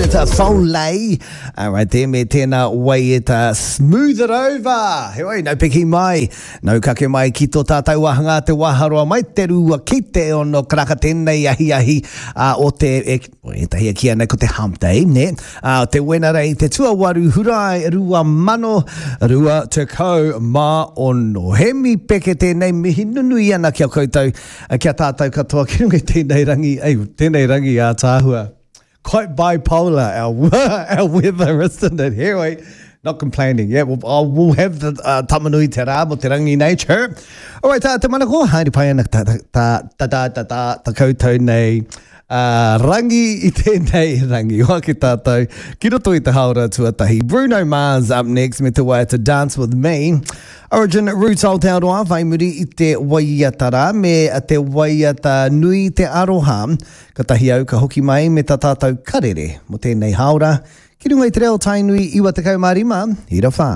David Foley. Alright there, me tēnā waiata Smooth It Over. Heoi, nau piki mai, nau kake mai ki tō tātou wāhanga te waharoa mai te rua ki te ono karaka tēnei ahiahi uh, o te, e, o ētahi e kīia nei ko te hump day, ne? Uh, te Wenerei, te tuawaru Hurae 2026. Hemi Peke tēnei mihi nunui ana ki a koutou, Kia tātou katoa ki runga i tēnei rangi, ei, tēnei rangi ātaahua. Quite bipolar our, our weather, isn't it? Heoi, not complaining. Yeah, we'll, oh, we'll have the uh, tamanui te rā mo te rangi nei, chirp. All right, tā, te manako, haere pai ana ta, ta, ta, ta, ta, ta, ta, ta koutou nei uh, rangi i tēnei rangi. Hoa ki tātou, ki roto i te haora tuatahi. Bruno Mars up next me te waiata Dance With Me. Origin Roots Aotearoa whai muri i te waiata rā me te waiata nui te aroha. Katahi au ka hoki mai me ta tātou karere mo tēnei hāora ki runga i te reo Tainui 95 ira whā.